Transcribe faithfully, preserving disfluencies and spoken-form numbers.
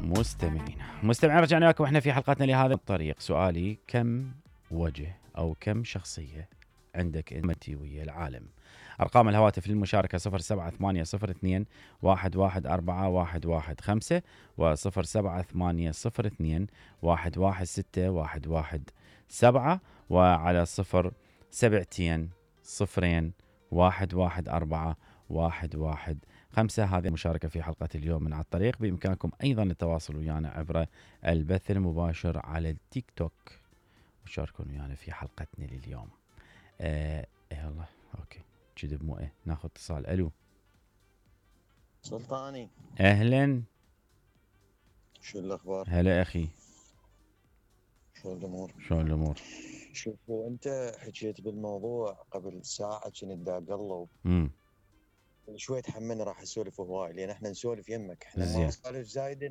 مستمعين مستمعين رجعنا لكم احنا في حلقتنا لهذا الطريق. سؤالي: كم وجه او كم شخصية عندك انت ويا العالم؟ ارقام الهواتف للمشاركة صفر سبعة ثمانية صفر اثنين واحد واحد أربعة واحد واحد خمسة وصفر سبعة ثمانية صفر اثنين واحد واحد ستة واحد واحد سبعة، وعلى صفر سبعتين صفرين واحد واحد أربعة واحد واحد خمسة. هذه المشاركة في حلقة اليوم من على الطريق. بإمكانكم أيضا التواصل ويانا عبر البث المباشر على التيك توك وشاركون ويانا في حلقتنا لليوم. آه يلا أوكي كذب مو إيه ناخذ اتصال. ألو سلطاني، أهلا. شو الأخبار؟ هلا أخي، شو الأمور؟ شو الأمور؟ شوفوا أنت حكيت بالموضوع قبل ساعة كنت دا أقلب امم شوي تحملنا راح أسولف هواي لأن إحنا نسولف يمك، إحنا ما زين. نسولف زايدة